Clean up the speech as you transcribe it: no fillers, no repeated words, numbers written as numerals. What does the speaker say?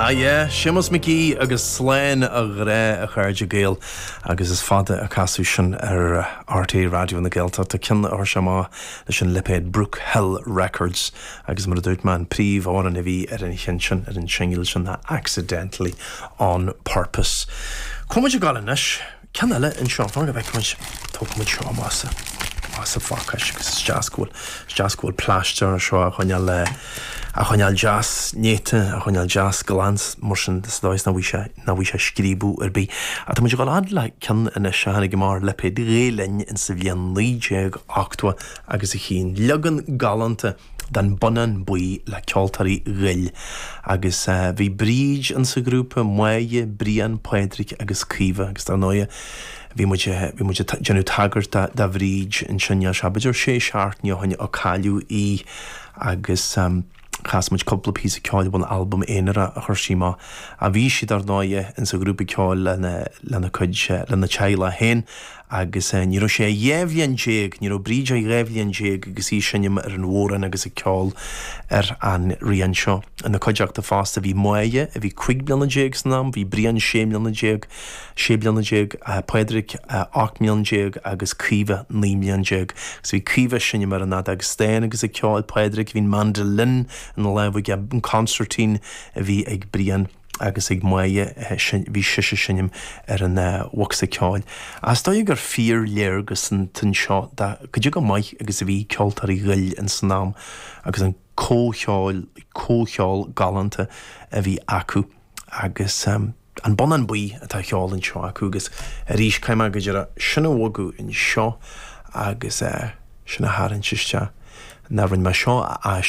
Ah yeah, Séamus Mac Aoidh agus Slán a Ghrá a chairde Gael agus is fada a casadh sin ar RTÉ Raidió na Gaeltachta, ceann a chuir sé amach leis an lipéad Brook Hill Records agus mar a dúirt mé an príomhamhrán a bhí ar an cheann sin, ar an singil sin ná Accidentally On Purpose. Cá bhfuil muid ag gabháil anois? Ceann eile anseo, fan go bhfeicfidh muid, tógfaidh muid seo amach as, amach as an phacáiste agus is deas go bhfuil, is deas go bhfuil plaisteach ar seo á choinneáil, á choinneáil deas néata, á choinneáil deas glan mar sin sa dóigh is nach bhfaighidh sé, nach bhfaighidh sé scríobadh ar bith. Ach tá muid ag dul fhad le ceann anois a tháinig amach ar lipéad Ghael Linn in sa bhliain 1980 agus a haon, leagan galánta den Bonnán Buí le Ceoltóirí Ghoill agus bhí Bríd in sa ghrúpa, Máire, Brian, Pádraig agus Caoimhe agus dar ndóighe bhí muid, bhí muid ag déanamh tagairt do, do Bhríd ansin, níl sé b'fhéidir sé seachtaine ó shin ó cailleadh í agus chas muid cúpla píosa ceoil ón albam aonarach a chuir sí amach. Bhí sí dar ndóighe in sa ghrúpa ceoil lena, lena cuid, lena teaghlach féin Agus ní raibh sé ach 12 bhliain, ní raibh Bríd ach 12 bhliain agus í ag seinm ar an bhodhrán agus ag ceol ar an rian seo. Ina cuideachta fosta bhí Máire, a bhí 15 bliana san am, bhí Brian 16 mbliana, 16 bliana, Pádraig 18 mbliana agus Caoimhe 19 mbliana. Agus bhí Caoimhe ag seinm ar an fheadóg stáin agus ag ceol, Pádraig, bhí an mandolin ina lámh aige, an consairtín a bhí ag Brian. agus ag Máire, bhí sise ag seinm ar an bhocsa ceoil. Is dóigh gur fíorléargas anseo de cad é chomh maith agus a bhí Ceoltóirí Ghoill ins san am agus an comhcheol, comhcheol galánta a bhí acu agus an Bonnán Buí atá á cheol anseo acu agus arís caithfidh mé go deireadh sin a bhogadh anseo agus sin a tharraingt isteach. Ná rinne mé seo a aistriú.